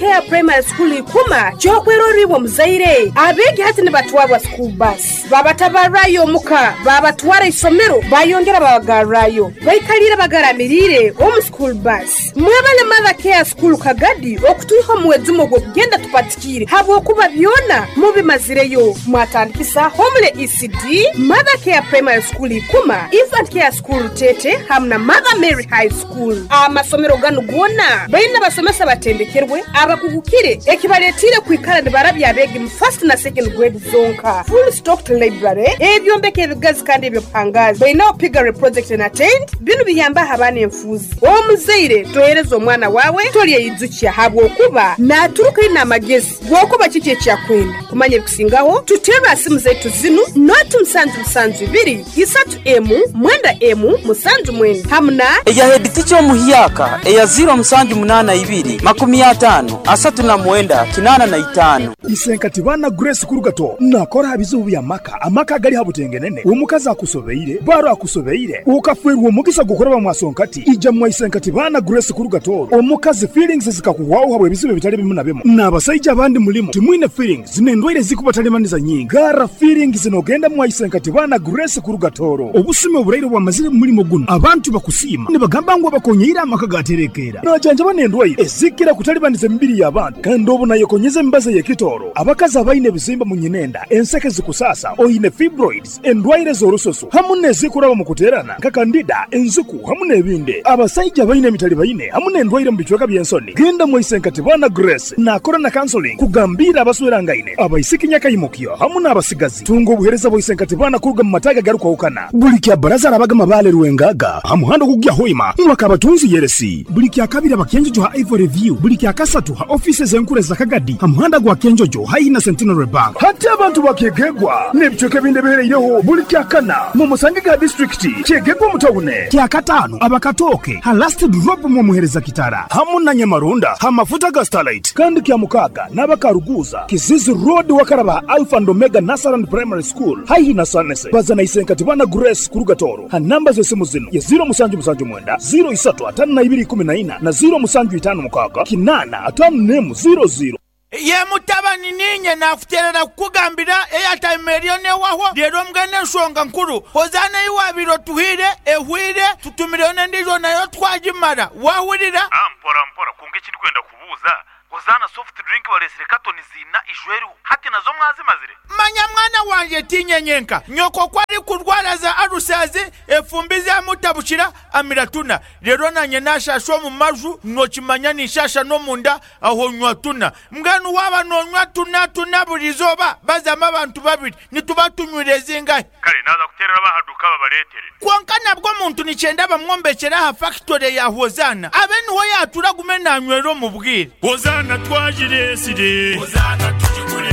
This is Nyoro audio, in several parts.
Care Primary School Ikuma ky'okwerorra iwe omuzaire. Abeegi hati nibatwarwa school bus, babatabarrayo omuka, babatwara isomero, bayongera babagarrayo. Baikaliire bagaramiriire omu school bus. Mwebale Mother Care School Kagadi okutwiha omu mwejumo gw'okugenda tupatikiire habwokuba byona mubimazireyo. Mwatandikisa Homely ECD, Mother Care Primary School Ikuma, Infant Care School Rutete hamu na Mother Mary High School. Amasomero ganu goona baine abasomesa abatendekerwe, abakugukire ekibaletiire kwikara nibarabya abeegi mu first na second grade zonka. Full stocked library, ebyombeko ebigazi kandi eby'obuhangaazi. Bainaho piggery project na tent, binu biyambaho abaana enfuuzi. Omuzaire tohereza omwana waawe tolyeyijukya habwokuba naaturuka aine amagezi g'okuba kiki eki akwenda. Kumanya ebikusingaho, tuterre ha simu zaitu zinu, noti musanju musanju ibiri, isatu emu, mwenda emu, musanju mwenda hamu na. Eya hediticha omuhyaka eya ziiro musanju munaana ibiri, makumi ataano, asatu na mwenda, kinaana na itaano. Isenkati baana Grace Kurugato nakora aha bizibu by'amaka, amaka agali ha butengenene, omukazi akusobeire, baro akusobeire, okafeerwa omugisa gw'okuraba mwasonkati, ija mwa Isenkati baana Grace Kurugato, omukazi feelings zikakuhwaho habw'ebizibu ebitali bimu na bimu, n'abasaija abandi mulimu timwine feelings n'endwaire ezikubatalimanisa nyingi, garra feelings nogenda mwa Isenkati baana Grace Kurugatoro. Obusumi oburaire obwamazire mu mulimo gunu, abantu bakusiima nibagamba ngu abakonyeire amaka gaterekeera. Najanjaba n'endwaire ezikira kutalibaniza emibiri y'abantu kandi obu nayekonyeza emibazi ey'ekitooro. Abakazi abaine ebizimba mu nyinenda, enseke zikusaasa, oine fibroids, endwaire z'orususu hamu n'ezikuraba omu kuteerana nka kandida, enziku hamu n'ebindi. Abasaija abaine emitalibaine hamu n'endwaire omu bicweka by'ensoni, genda mwaise Nkatibana Grace naakora na counseling kugambiira abaswerangaine, abaisiki nyakaimukyo hamu n'abasigazi. Tunga obuheereza bwa Isenkatibana kuruga mu mataagi agarukwahukana. Buli kya Baraza arabaga Mabaale Rwengaga ha muhanda ogukugya Hoima mwaka Abatunzi Yeresi. Buli kya Kabiri aba Kyenjojo ha Ivory View. Buli kya Kasatu ha ofiisi ez'enkuru eza Kagadi ha muhanda gwa Kyenjojo haihi na Centenary Bank. Hati abantu ba Kyegegwa n'ebicweka ebindi ebihereireho buli kya Kana mu musange ga disiturikiti Kyegegwa omu tawune. Kya Kataano aba Katooke ha Last Drop mw'omuhereza Kitara hamu na Nyamarunda ha mafuta ga Starlight. Kandi kya Mukaaga n'aba Karuguuza, Kizizi Road wakaraba ha Alpha and Omega Nursery and Primary School haihi na Sanese. Baza na Isenkatibana Grace kuruga Tooro ha namba z'esimu zinu ye ziiro musanju musanju mwenda, ziiro isatu ataano na ibiri ikumi na ina na ziiro musanju itaano mukaaga kinaana ataano n'emu ziiro ziiro. Ye mutabani, niinye naakuteerera kukugambira eyataima eriyo n'ewahwo. Reero mbwenu enshonga nkuru, Hozaana ei waabaire otuhaire ehweire, tutumireyo n'endiijo nayo twagimara. Waahurira? Mpora mpora, kwonka eki ndikwenda kubuuza, Hozaana soft drink bareetsire katoni ziina ijo eriho, hati nazo mwazimazire? Manya mwana wangye, tiinye nyenka. Nyoko ku arikurwara za alusazi, efumbi zaamutabukira, amira tuna. Reero naanye naashaasha omu maju, nookimanya ninshaasha n'omunda, aho nywa tuna. Mbwenu waaba noonywa tuna tuna buri izooba, bazamu abantu babiri, nituba tunywire zingahi? Kare naaza kuteerera ab'aha duuka babareetere. Kwonka nabwo omuntu nikyenda bamwombekyere aha fakitore ya Hozaana abe niho yaatuura agume naanywera omu bwire. Hozaana twagireetsire. Hozaana tugigure.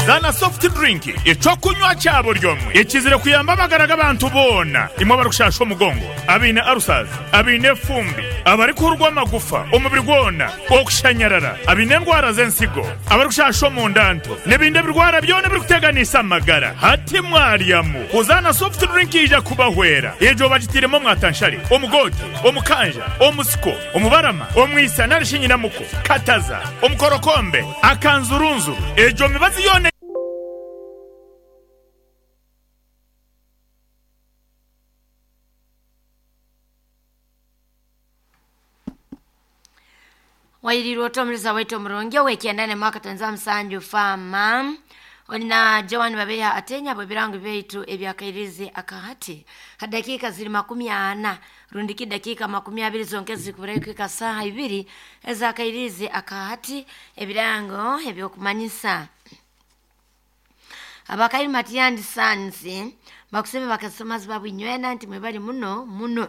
Hozaana soft drink eky'okunywa kya buri omwe ekizire kuyamba amagara g'abantu boona. Imwe abarikushaasha omugongo, abaine ulcers, abaine efumbi, abarikuhurwa amagufa omubiri gwona, okushanyarara, abaine endwara z'ensigo, abarikushasha omunda nto, n'ebindi ebirwara byona ebirikuteganisa amagara. Hati mwaryamu Hozaana soft drink eija kubahwera. Egyo bagitairemu omwatanshare, omugoote, omukanja, omusiko, omubarama, omwisa nari shi nyinamuko, kataza, omukorokombe, akanzurunzuru. Egyo mibazi yoona. Wairiirwe ota omuriisa waitu omurungi ow'ekyenda n'emwaka twenza musanju Farmer oli na Joan Babeha Atenya habw'ebirango byaitu eby'akairizi aka hati. Ha dakiika ziri makumi ana rundiki dakiika makumi abiri zonka ezirikuburayo kuhika saaha ibiri ez'akairizi aka hati ebirango eby'okumanyisa. Abakairi Matiani Sons bakuseme bakasitomazi babu inywena nti mwebali muno muno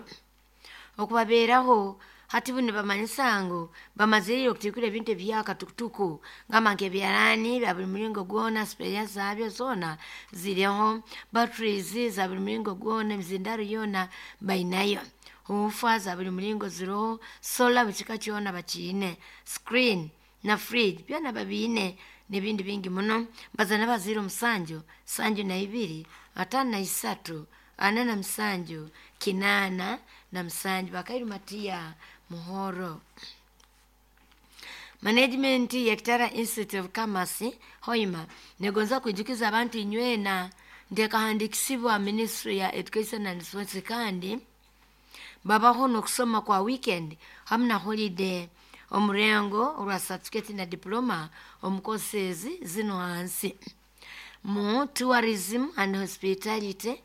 okubabeeraho hati bunu nibamanyisa ngu bamazire okutikura ebintu ebyakatukutuku ngamba nk'ebyaraani bya buli muringo gwona, sipeya zaabyo zoona ziriho, batteries za buli muringo gwona, emizindaro yoona bainayo, huufa za buli muringo ziriho, solar buli kika kyona bakiine, screen na fridge byona babiine n'ebindi bingi muno. Mbaza n'abazaire omusanju, sanju na ibiri, ataano na isatu, ana na musanju, kinaana na musanju. Bakairu Matiya Muhoro. Management ya Kitara Institute of Commerce Hoima negonza kwijukiza abantu inywena ndekahandikisibwa Ministry ya Education and Sports, kandi babaho nokusoma kwa weekend hamwe na holiday omurengo olwa certificate na diploma omu courses zino hansi mu tourism and hospitality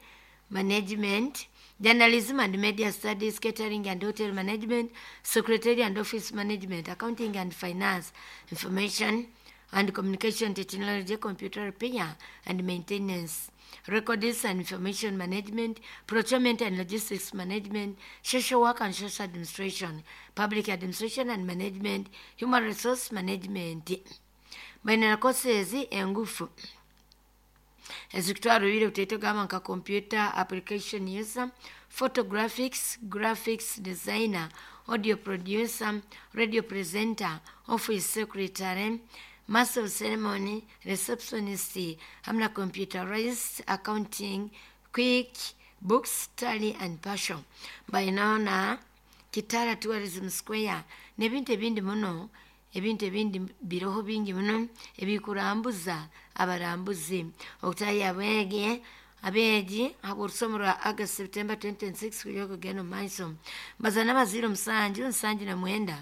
management, journalism and media studies, catering and hotel management, secretary and office management, accounting and finance, information and communication technology, computer repair and maintenance, records and information management, procurement and logistics management, social work and social administration, public administration and management, human resource management. Baina courses engufu ezikutwara obwire butaito gamba nka computer application user, photographics, graphics designer, audio producer, radio presenter, office secretary, master of ceremony, receptionist, hamwe na computerized accounting, quick books, tally and passion. Bainaho na Kitara Tourism Square n'ebintu ebindi muno, ebintu ebindi biroho bingi muno ebikurambuza abarambuzi. Okutahi abegi habw'orusomo rwa August September 2026 kuja kugenda omu maiso. Bazana abazire 7 79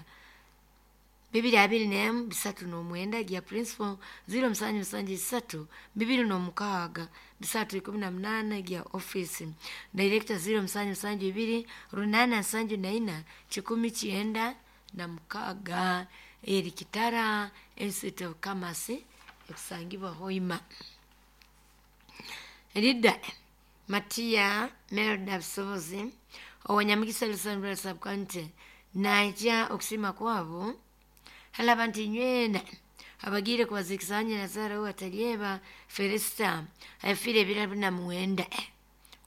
221 39 gya principal 077 206 318 gya office director 072 874 196 eri Kitara Institute of Commerce ekusangibwa Hoima. Rida Matia Melda Busobozi owanyamugisa Lusambira Sub-County naija okusima kwabo halaba nti nywena abagire kubazikisanya Nazara watalyeba Felista afire ebiro 49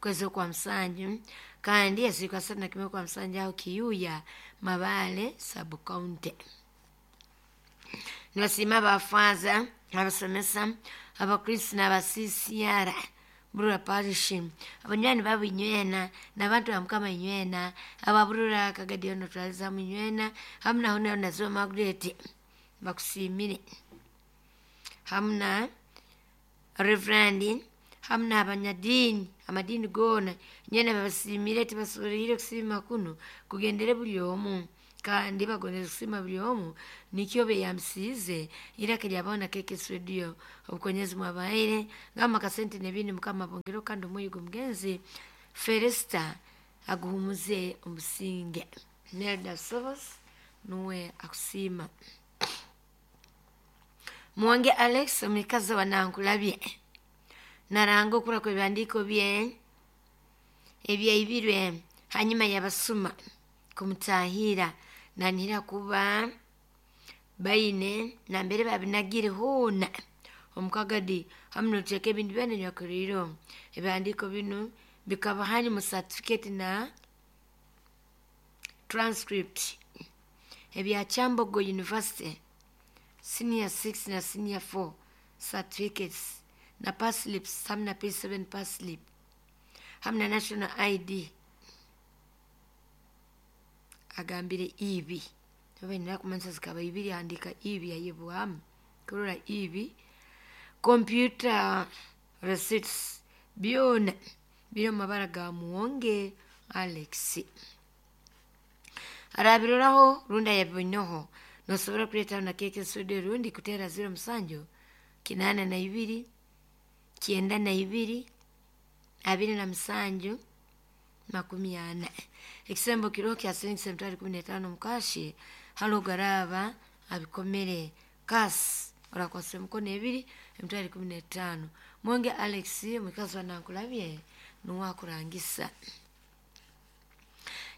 kwezi kwa Msanju, kandi yasika sana kimwe kwa Msanju aho Kiyuya Mabale Sub-County. Nibasiima abafaza, abasomesa, abakristo n'abasisiara Burura Parish, abanywani babo inywena n'abantu ba Mukama inywena, ababurura Kagadiyo notwalizamu inywena, hamu naho nayo Naziwa Margaret bakusiimire, hamu na Reverend, hamu n'abanyadiini amadini goona inywena babasiimire, tibasoboleire kusiima kuno kugendere buli omu, kandi bagondeze kusima buli omu nikyo beyambisiize iraka lyabaho na KKS Radio obukonyezi mwabaire ngamba kasente nebindi Mukama bongero, kandi omwoyo gw'omugenzi Felista aguhumuze omusinge. Nelda Sobos nuwe akusiima. Muwange Alex omikazi wa Nankulabye naranga okura kw'ebihandiiko bye ebyaibirwe hanyuma yabasuma kumutahira nanihira kuba baine nambere babinagire hoona omukagadi hamu noteeka ebintu byona nyakuriro. Ebihandiiko binu bikaba hani mu certificate na transcript ebya Kyambogo University senior 6 na senior 4 certificates na pass slips hamu na P7 pass slip hamu na national ID. Agambire ibi bainira kumanisa zikaba ibiri andika ibi yayebwamu kurora ibi computer receipts byona biri omu mabara ga Muwonge Alex. Arabiroraho rundi ayabinoho nosobora kuleetaho na KKS Radio rundi kuteera 07 82 92 27 40. Ekisembo kiroho kya siringi 715 mukashi halo garaba abikomere kasi orakwasa emikono ebiri 15. Mwenge Alex mukazi wa Nankulabye nuwakurangisa.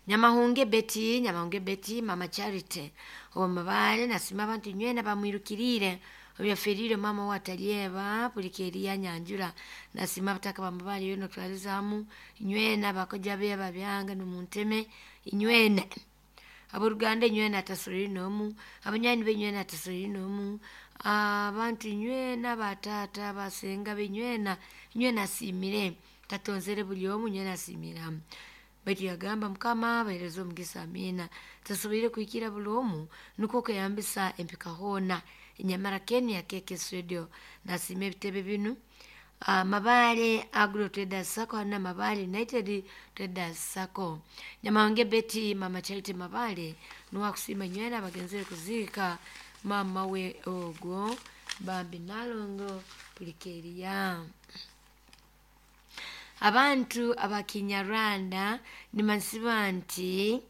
Nyamahunge Betty Mama Charity owamabale nasima abantu nywena bamwirukirire obyafirire mama watalyeba pulikeri ya nyanjura nasima bataka bamabale yono twalizamu nywena bakoja be babyanga numunteme inywena aboruganda inywena atasoreri nomu abanywani benywena atasoreri nomu abantu inywena batata basenga benywena inywena asimire tatonzere buli omu inywena asimira. Baitu yagamba, Mukama abahereze omugisa, amiina. Tasoboire kuhikira buli omu nukwo kweyambisa empika hoona. Enyamara Ken ya KKS Radio nasiima ebitebe binu. Mabaale Agro Traders Sacco hanu na Mabaale United Traders Sacco. Nyamahonge Betty Mama Charity Mabaale nuwe akusiima nywena abagenzere kuziika mama we ogwo Bambi Nalongo Pulikeria. Abantu abakinyarwanda nimansiba nti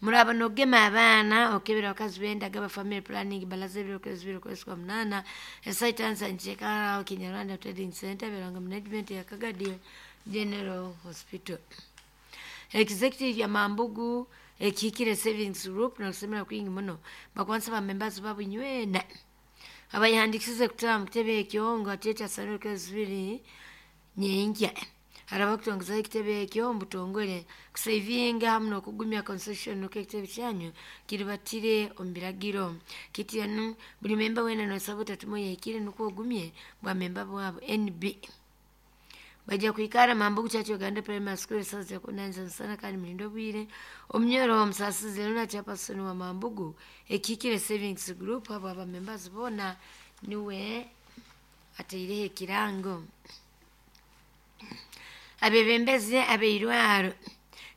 muraba nogema abaana okebera abakazi bendaga ba family planning balaza ebiro kwezi biro kwezi kwa munana esaitansa nchekara Kinyarwanda Trading Center Biranga Management ya Kagadi General Hospital. Executive ya Mambugu ekikire Savings Group nokusemera kwingi muno bakwansa ba members babu nywena abayihandikisize kutaba mu kitebe ekyo nga kyekya saniro kwezi biri nyenkya haraba kutongozaho ekitebe ekyo omubutongole kusavinga hamu n'okugumya concession nuko ekitebe kyanyu kiribatire omu biragiro kityanu buli memba wena nosaba otatuma oyahikire nukwo ogumye bwa memba bwabo NB bajja kwikara Mambugu Church Uganda Primary School esaza yakunanza nsana kandi mulindo bwire omunyoro omusasizi luna chairperson wa Mambugu ekikire Savings Group abo aba members bona niwe ateireho ekirango. Abebembezi abeirwaro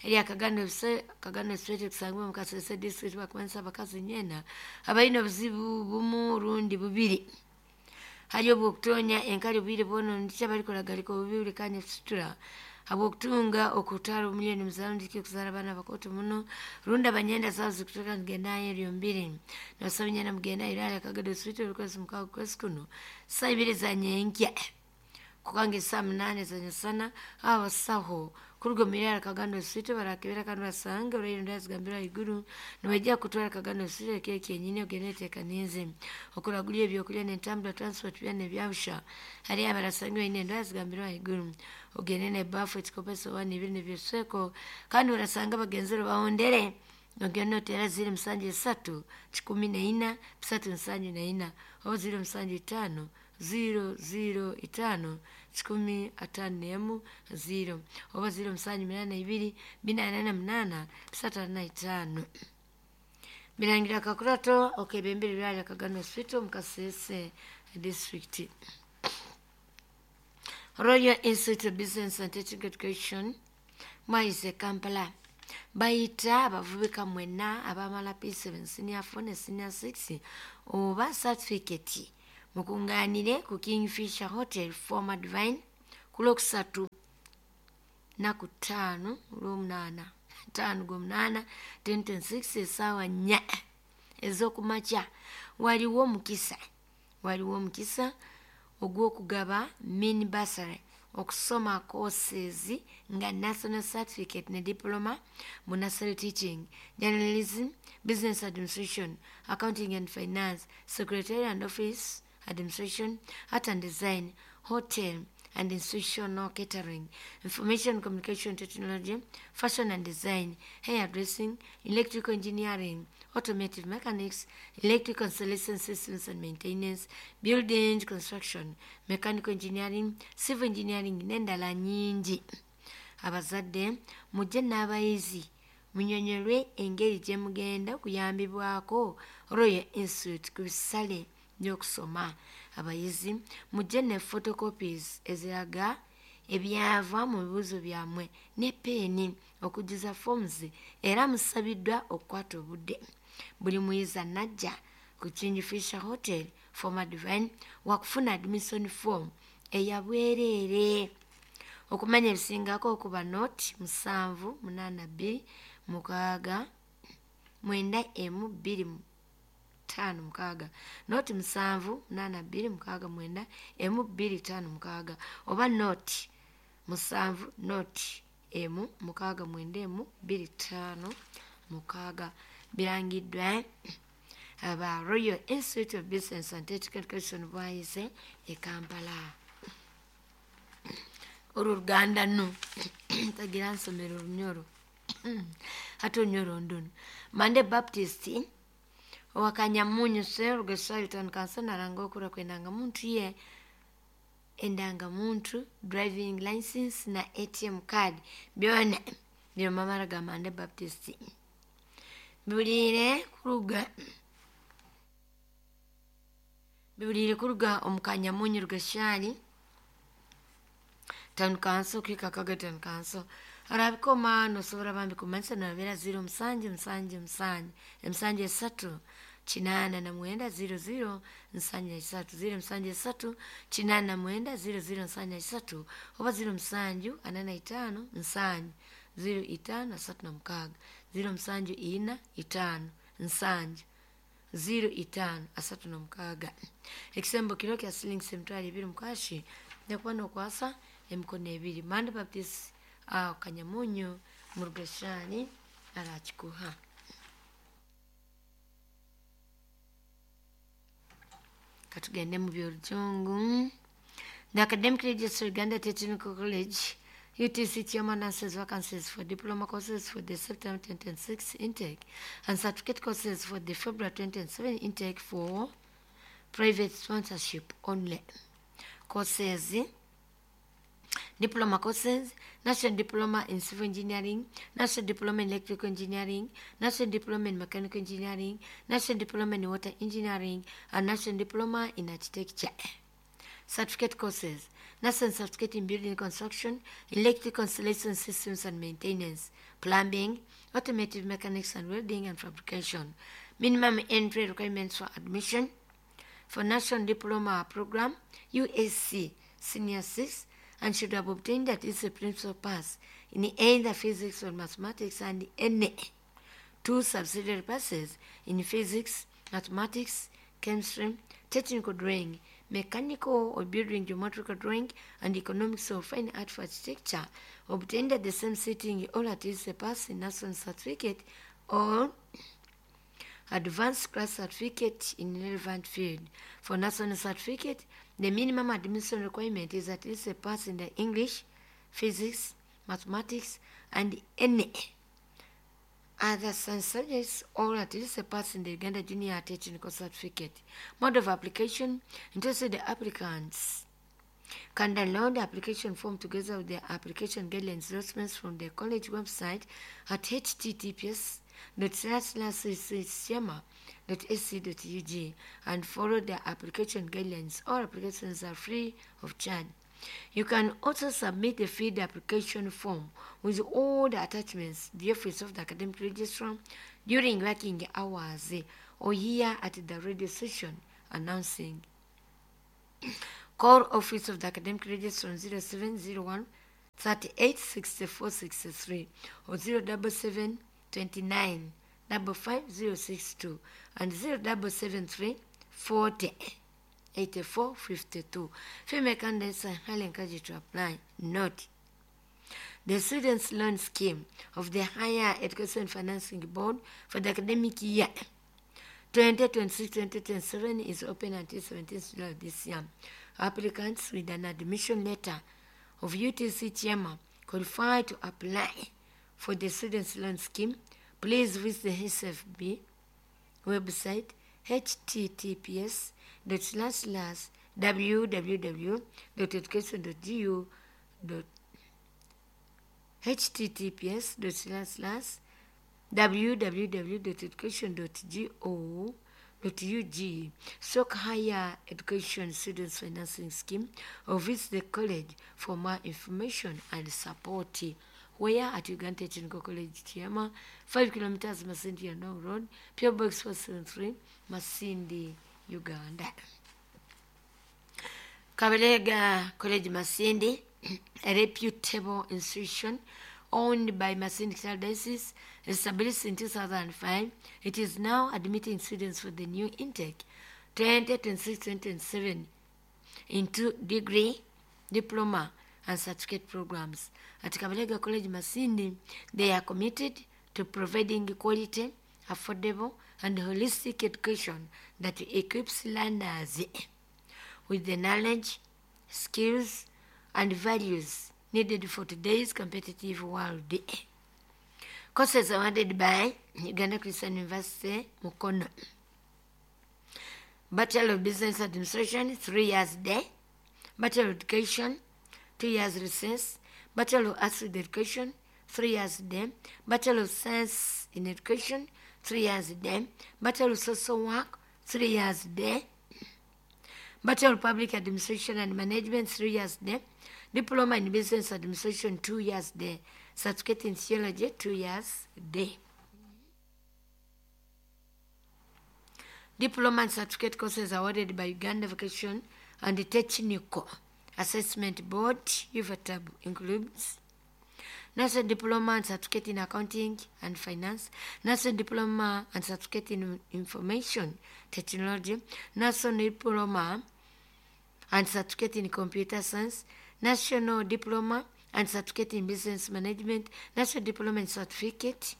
erya Kagano Street kusangwa mu Kasese district bakwanisa abakazi nyena abalina obuzibu bumu rundi bubiri. Hali obwokutonya enkali obwire bwono ndikya balikolagalika obubi buli kanya kusitura habwokutunga okutwara omulyo nimuzaara ndiki okuzaara abaana bakoto muno rundi abanyenda zabo zikutuka nigendayo eryo mbiri nosaba nyena mugenda irwaro Kagado Street orukwezi mukaaga kwezi kuno saa ibiri za nyenkya kukanga esaa munane zanyasana abasaho kuruga omu Kagando Street barakebera kandi basanga orwaire ndazigambira ahaiguru nibajja kutwara Kagando Street ekiro kyenyini ogende oteekanize okuragura ebyokurya n'entambura transport byona ebyabusha hariyo abarasanga baine endwara zigambirwe ahaiguru ogende n'ebafu ekikopo esowaani ibiri nebyesweko kandi orasanga bagenzere bahondere ogende oteera 0 7 3 14 374 oba 0 7 5 0 0 5 51 0 oba 0 7 8 2 4 8 3 5. Birangira Kakurato okebembere byali Kagano Street mu Kasese district. Royal Institute of Business and Technical Education mwaise Kampala bayita abavubika mwena abamala P7 senior 4 ne senior 6 oba certificate mukunganire ku Kingfisher Hotel former Divine ku Lwokusatu naku 5 Lwomunaana 5 Gwomunaana 2026 essaawa 4 ez'okumakya. Waliwo omukisa ogw'okugaba mini bursary okusoma courses nga national certificate ne diploma mu nursery teaching, journalism, business administration, accounting and finance, secretarial and office administration, art and design, hotel and institutional catering, information communication technology, fashion and design, hairdressing, electrical engineering, automotive mechanics, electrical installation systems and maintenance, building construction, mechanical engineering, civil engineering n'endala nyingi. Abazadde mujje n'abayizi munyonyolwe engeri gye mugenda kuyambibwako Royal Institute ku bisale by'okusoma. Abayizi mujje ne photocopies eziraga ebyava mu bibuuzo byammwe ne peeni okujjuza forms era musabiddwa okukwata obudde. Buli muyizi anajja ku Kingfisher Hotel former Divine wakufuna admission form eyabwereere. Okumanya ebisingako okuba noti 7 8 2 6 9 1 2 5 6 noti 7 8 2 6 9 1 2 5 6 oba noti 7 noti 1 6 9 1 2 5 6. Birangiddwa aba Royal Institute of Business and Technical Education bwayise e Kampala. Olwo Luganda nno tagira nsomero Lunyoro ate Olunyoro nduno. Mande Baptist owakanyamunyu Serugesaliton kansonaranga okura kwendanga muntu ye endanga muntu driving license na ATM card byona Niyo mamara ga Mande Baptist. Bibuliire kuruga bibuliire kuruga omu Kanyamunyu Rugashari Town Council kwika Kaga Town Council. Arabikoma nosobora bambi kumanyisa nabera 0 7 7 7 7 3 89 00 73 0 7 3 89 00 73 oba 0 7 45 7 0 5 36 0 7 4 5 7 0 5 36. Ekisembo kiro kya silingi 20,000 mukashi nyakuba nokwasa emikono ebiri. Mande Baptist Kanyamunyu Murugashani arakikuha. Katugende mu by'Orujungu. The Academic Registrar, Uganda Technical College, UTC chairman announces vacancies for diploma courses for the September 2026 intake and certificate courses for the February 2027 intake for private sponsorship only. Courses: diploma courses, National Diploma in Civil Engineering, National Diploma in Electrical Engineering, National Diploma in Mechanical Engineering, National Diploma in Water Engineering, and National Diploma in Architecture. Certificate courses: National Certificate in Building Construction, Electrical Installation Systems and Maintenance, Plumbing, Automotive Mechanics and Welding and Fabrication. Minimum entry requirements for admission for National Diploma Program, USC Senior 6, and should have obtained at least a principal pass in either physics or mathematics and any two subsidiary passes in physics, mathematics, chemistry, technical drawing, mechanical or building geometrical drawing, and economics or fine art for architecture, obtained at the same sitting or at least a pass in national certificate or advanced class certificate in relevant field. For national certificate, the minimum admission requirement is at least a pass in the English, physics, mathematics, and any other science subjects, or at least a pass in the Uganda Junior Technical Certificate. Mode of application: interested applicants can download the application form together with the application guidelines documents from the college website at https .//siema.ac.ug and follow the application guidelines. All applications are free of charge. You can also submit the filled application form with all the attachments to the office of the academic registrar during working hours or here at the radio station announcing. Call office of the academic registrar on 0701 38 64 63 or 077 29 55062 and 0773 40 84 52. Female candidates are highly encouraged to apply. Note: the Students' Loan Scheme of the Higher Education Financing Board for the academic year 2026-2027 is open until 17th July this year. Applicants with an admission letter of UTC Chairman qualify to apply for the Students' Loan Scheme. Please visit the HSFB website https //www.education.gu https //www.education.go.ug Sok Higher Education Students Financing Scheme, or visit the college for more information and support. Where at Uganda Technical College, Tiama, 5 kilometers Masindi Yandong Road, P.O. Box 473, Masindi, Uganda. Kabalega College Masindi, a reputable institution owned by Masindi Diocese, established in 2005. It is now admitting students for the new intake 2026-2027 into degree, diploma, and certificate programs. At Kabalega College Masindi, they are committed to providing quality, affordable, and holistic education that equips learners with the knowledge, skills, and values needed for today's competitive world. Courses awarded by Uganda Christian University, Mukono. Bachelor of Business Administration, 3 years day. Bachelor of Education, 2 years recess. Bachelor of Arts with Education, 3 years day, Bachelor of Science in Education, 3 years day, Bachelor of Social Work, 3 years day, Bachelor of Public Administration and Management, 3 years day, Diploma in Business Administration, 2 years day, Certificate in Theology, 2 years day. Diploma and certificate courses awarded by Uganda Vocation and Technical Assessment Board, UVATAB, includes National Diploma and Certificate in Accounting and Finance, National Diploma and Certificate in Information Technology, National Diploma and Certificate in Computer Science, National Diploma and Certificate in Business Management, National Diploma and Certificate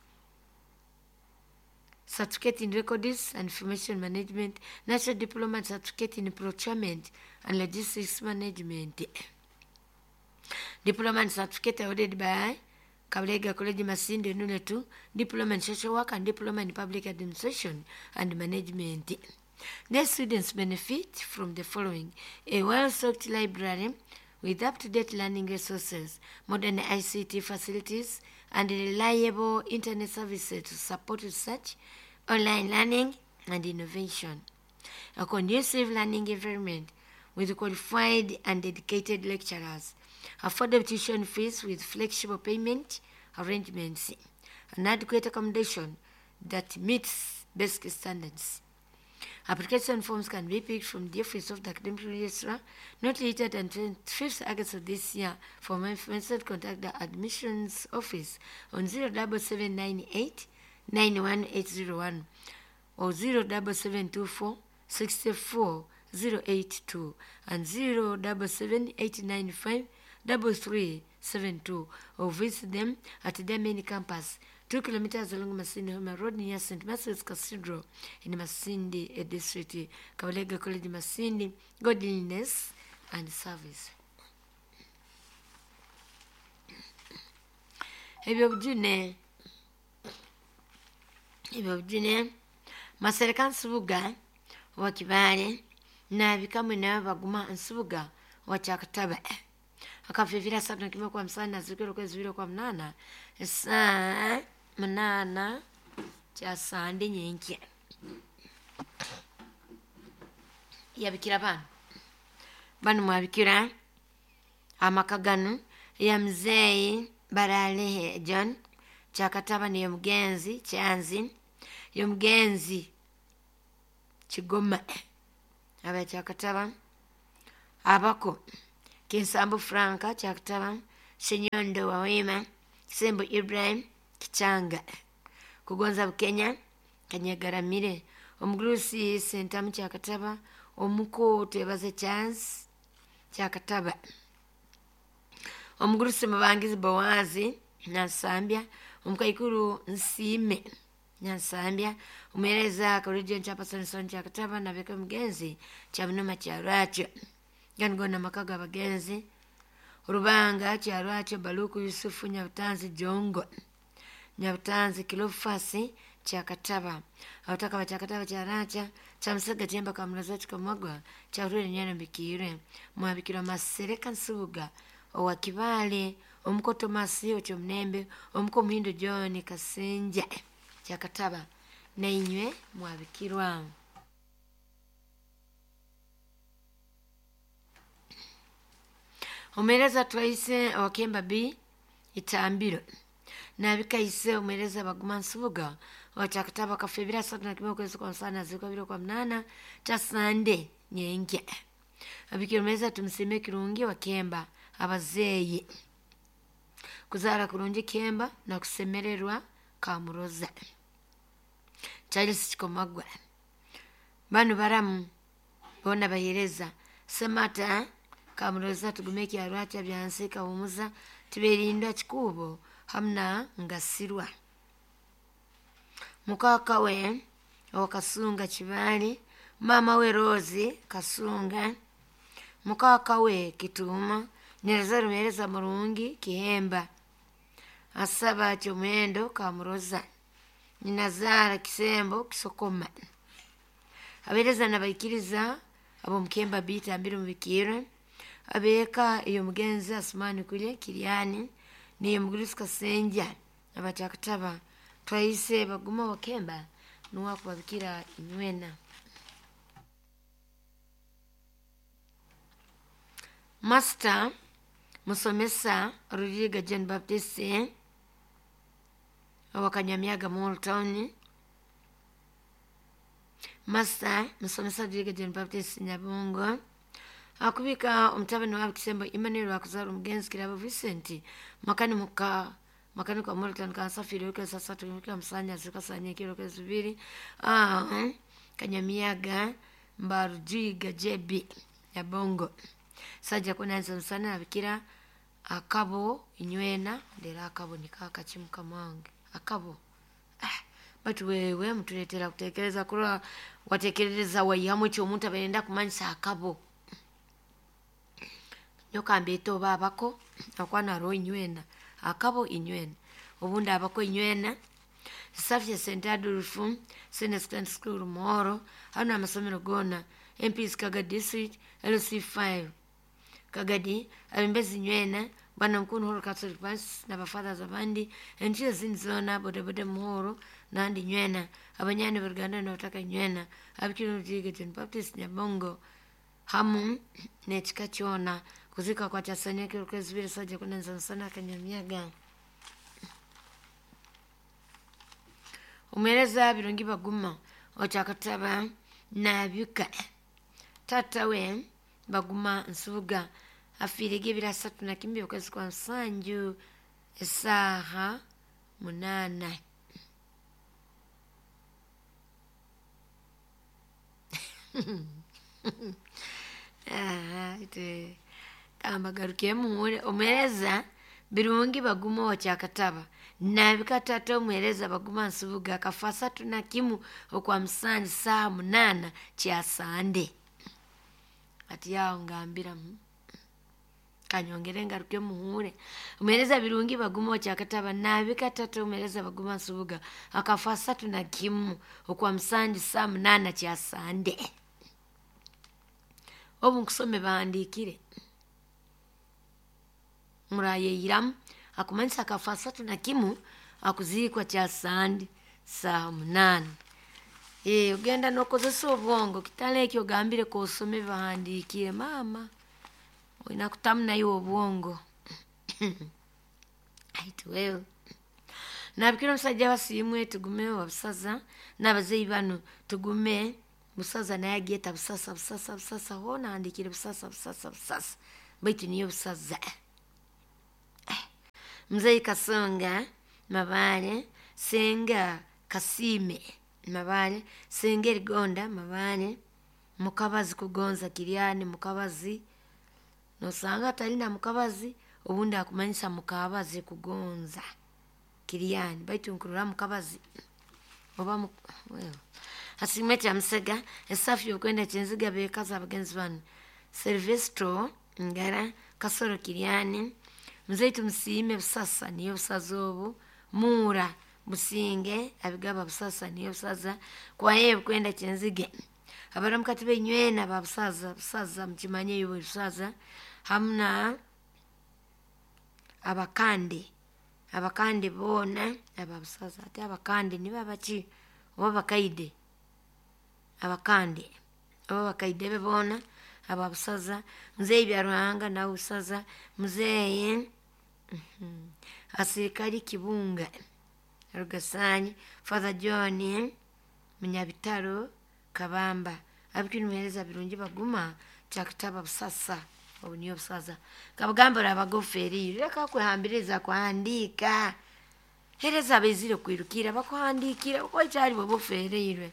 in Records and Information Management, National Diploma and Certificate in Procurement and Logistics Management. Diploma and Certificate awarded by Kabalega College Masindi Nule 2, Diploma in Social Work and Diploma in Public Administration and Management. The students benefit from the following: a well-stocked library with up-to-date learning resources, modern ICT facilities, and reliable internet services to support research, online learning, and innovation. A conducive learning environment with qualified and dedicated lecturers, affordable tuition fees with flexible payment arrangements, and adequate accommodation that meets basic standards. Application forms can be picked from the office of the academic registrar not later than 25th August of this year. For more information, contact the admissions office on 07798 91801 or 07724 64082 and 077895 3372, or visit them at their main campus, 2 kilometers along Masindi Homa Road near St. Matthew's Cathedral in Masindi District. Kabalega College Masindi, godliness and service. Ebyobujune Masereka Nsubuga wa Kibale na bikamwe na baguma Nsubuga wa Kyakataba akafifira 31 kwa 50 zikiro kwezi 2 kwa 8 saa 8 cha sande nyenkya yabikira bano bano mwabikira amakagano ya mzee Baralehe John Kyakataba ni mugenzi Kyanzi yomugenzi Kigoma aba Kyakataba abako Kinsambu Franka Kyakataba Senyondo Wawema Sembo Ibrahim Kichanga Kugonza Bukenya Kanyagaramire Omugurusi Sentamu Kyakataba Omuko Twebaze Chance Kyakataba Omugurusi Mubangizi Bowazi Nansambya Omukaikuru Nsime Nansambya Omuhereza College Chairperson Kyakataba nabeka mugenzi Kyabunuma Kyarwakyo Gangona makaga abagenzi Rubanga Kyarwakyo Baluku Yusufu Nyabutanzi Jongo Nyabutanzi Kilofasi Kyakataba Abataka ba Kyakataba Kyaracha Kyamusaga Tyemba Kamuloza Kikamwagwa Kyarwire Nyana Mbikire Mwabikirwa Masereka Nsubuga owa Kibale Omukoto Masi Okyomnembe Omuko Muhindo John Kasenja Kyakataba nainywe mwabikirwa. Omereza twaise wakemba B itambiro nabikaise omereza baguma Nsubuga wa Kyakataba kafebira 31 kwezi kwa 5 ziko 2 kwa 8 cha sande nyenkya abikira omereza tumusime kirungi wakemba abazeyi kuzara kurungi kemba na kusemererwa kamuroza Charles Kikomagwa banu baramu bona bayereza semata kamuroza tugumeki arwacha byansi kawumuza tiberindwa kikubo hamna ngasirwa mukaka we wakasunga Kibali mama we Rose Kasunga mukaka we Kituma nyereza rumereza murungi Kihemba asaba kyomwendo kamuroza nyinazara Kisembo Kisokoma abereza nabaikiriza abo mukemba bita ambiri mubikire abeka iyo mugenzi Asmani kule Kiriani Niyo Mugurisi Kasenja abakyakataba twayise baguma wakemba nuwakubabikira inywena. Master musomesa Ruliga John Baptist owakanyamyaga Mall Town. Master musomesa Ruliga John Baptist Nyabungo akubika omutabani wabe Kisembo Emmanuel wakuzara omugenzi Kirabo Vincent makani muka makani kwa Mall Town kansafiri wike sasa tumika musanya zikasanya kiro kezubiri Kanyamiaga Mbarujiga JB Nyabongo sajja kunanza musana abikira akabo inywena ndera akabo nikaka chimuka mwange akabo batu wewe mtuletera kutekereza kurora watekereza waihamu ekyo omuntu abarenda kumanyisa akabo nyokambeeta oba abako akwana ro inywena akabo inywena obundi abako inywena Safia St. Adolf Senior Secondary School Muhoro hano amasomero gona MPs Kagadi District LC5 Kagadi abimbezi nywena bwana mkuu Muhoro Catholic Parish na bafathers abandi enjia zindi zona bodaboda Muhoro nandi nywena abanyani baruganda n'abataka nywena abikira Rujiga John Baptist Nyabongo hamu n'ekika kyona kuzika kwa kyasanya kirukezi biri sajja kunenza nsana Kanyamyaga. Umwereza birungi baguma okyakataba nabika tata we baguma nsubuga afiirege ebiro 31 okwezi kwa nsanju esaaha 8. Kambagaruke omwereza birungi baguma okyakataba nabika tata omwereza baguma nsubuga akafa 31 okwa musanju saaha 8 kyasande. Ati yao ngambira kanyongere ngaruke muhure. Omwereza birungi baguma okyakataba nabika tata omwereza baguma nsubuga akafa 31 okwa musanju saaha 8 kyasande. Obu nkusome bahandikire murayeyiramu akumanyisa akafa 31 akuzikwa kyasande saaha 8. Ogenda nokozesa obwongo kitale ekyo ogambire kosome bahandikire mama olina kutamu nayo obwongo. Aitu wewe nabikira omusajja basiimwe tugume wabusaza n'abazeeyi bano tugume busaza naye agyeta busasa busasa busasa hoona ahandikire busasa busasa busasa baitu niyo busaza. Mzee Kasonga Mabale Senga Kasime Mabale Senga Erigonda Mabale Mukabazi kugonza Kiryani Mukabazi nosanga atalina Mukabazi obundi akumanyisa Mukabazi kugonza Kiryani baitu nkurura Mukabazi oba asimwe kya Musega esafi yokwenda kyenziga bekaza abagenzi bano Silvestro Ngara Kasoro Kiryani Mzee tumusiime busasa niyo busaza obu Mura Businge abigaba busasa niyo busaza kwaye kwenda kyenzige abaramukati benywena ba busaza busaza mukimanye yo busaza hamna abakande bona aba busaza ati abakande ni babaki oba bakaide abakande oba bakaide be bona aba busaza mzee bya Ruhanga na busaza mzee asirikali Kibunga Rugasanyi Father John Munyabitaro Kabamba abikinuhereza birungi baguma kyakitaba busasa obu niyo busaza kabagambira abagoferi reka kwehambiriza kuhandika hereza abezire kwirukira bakuhandikira uko kyali bobofereirwe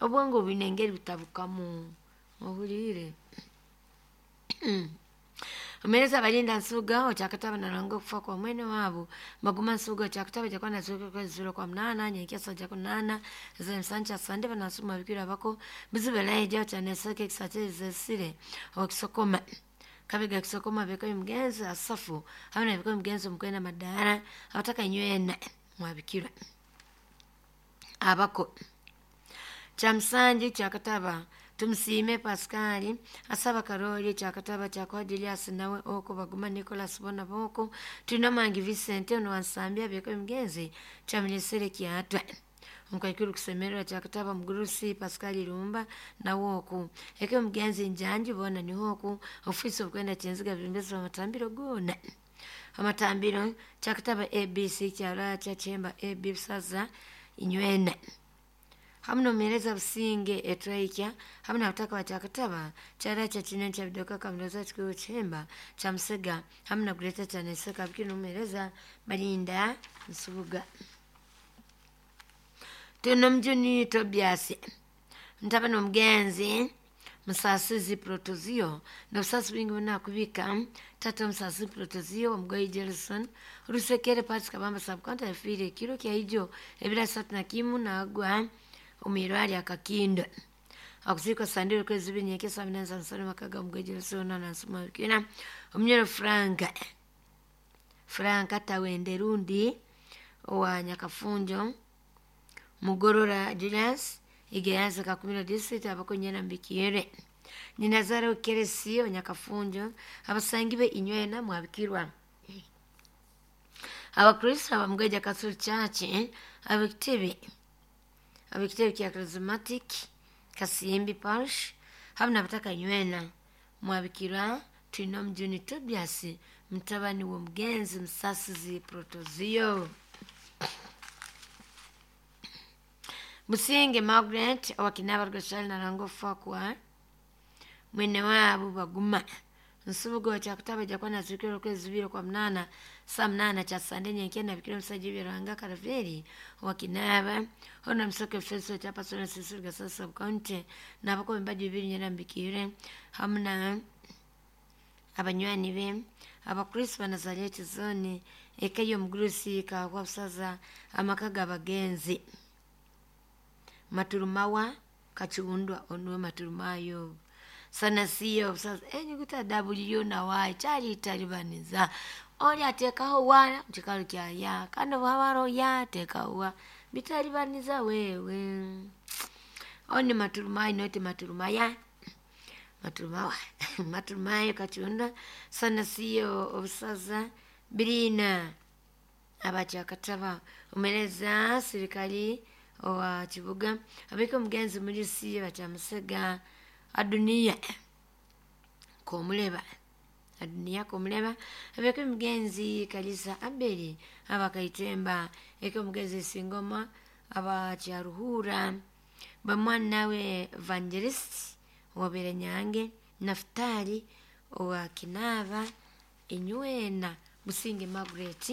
obwongo bwine engeri butabukamu obulire. Omereza balinda nsuga okyakataba naranga okufa kwa mwene wabo baguma nsuga okyakataba jakwana zuka kwa zuro kwa mnana nyekia saja kunana za msancha sande banasuma bikira bako bizibelaye jaw chaneseke kisate zesire okisokoma kabega kisokoma beko mugenzi asafu hamna beko mugenzi mukwenda madara abataka nywena mwabikira abako chamsanji kyakataba Tumusiime Pascal asaba Karoli kyakataba kyakwa Julius nawe oko baguma Nicholas bona boko tulina mangi Vincent ono wansambya byeko mugenzi kyaminyesere kyatwa omukaikuru kusemererwa kyakataba mugurusi Pascal Irumba nawe oku eke mugenzi njanji bona niho oku ofisi obukwenda kyenziga bimbezi amatambiro gona amatambiro kyakataba ABC kyara kyachemba AB busaza inywena hamu nomuhereza businge etwaikya hamu nabutaka bakyakataba kyara kyakina kyabidoka kamuroza kikuyu kyemba kyamusega hamu na gureta kyaneseka bikiri nomuhereza balinda nsubuga. Tulina omujuni Tobias ntabani omugenzi musasizi Protozio nobusasi bwingi bunakubika tata musasizi Protozio omugoyi Jelson rusekere Patrick Kabamba subcounty yafiire ekiro kyaijo ebiro 31 nagwa omwirwari akakindo akuziikwa sandiro kwezi bibiri nyekya saa munana za musana makaga omugoyi Jelson nansuma bikina omunyoro Franka Tawende rundi owa Nyakafunjo Mugorora Julius Igeyanza Kakumiro district abakonyera mbikire Ninazara Keresi Onyakafunjo abasangi be inywena mwabikirwa Abakristo abamgeja Catholic Church abekitebe kya Charismatic Kasimbi Parish hamu nabataka inywena mwabikirwa. Tulina omujuni Tobias mutabani w'omugenzi Musasizi Protozio. Musinge Margaret owakinaba rugashali narango fakwa mwene wabo baguma nsubugo kyakutaba jakwa nazikiro kwezi 2 kwa 8 saa 8 cha sande nyenkya nabikira omusajja byeranga Karaveri owakinaba ono musoke feso kya pastor Cecil Gasasa county nabako embaji bibiri nyera mbikire hamu na abanywani be abakristo ba Nazareti zone eka y'omugurusi kahwa busaza amaka g'abagenzi Maturumawa Kachiundwa onwe Maturumayo sanasiyo busaza enyuguta W na Y kyali italibaniza oli atekaho wa mukikalo kya ya kandi bwabaro ya tekaho wa bitalibaniza wewe oni Maturumayo noti Maturumaya Maturumawa Maturumayo Kachiundwa sanasiyo obusaza birina abakyakataba omereza sirikali owa kibuga abika omugenzi mulisi bakyamusega Adunia komuleba Adunia komuleba abika omugenzi Kalisa Abeli abakaitemba eka omugenzi Singoma abakyaruhura bamwana we Evangelist wabere nyange Naftali owa Kinava inywena Musinge Margaret.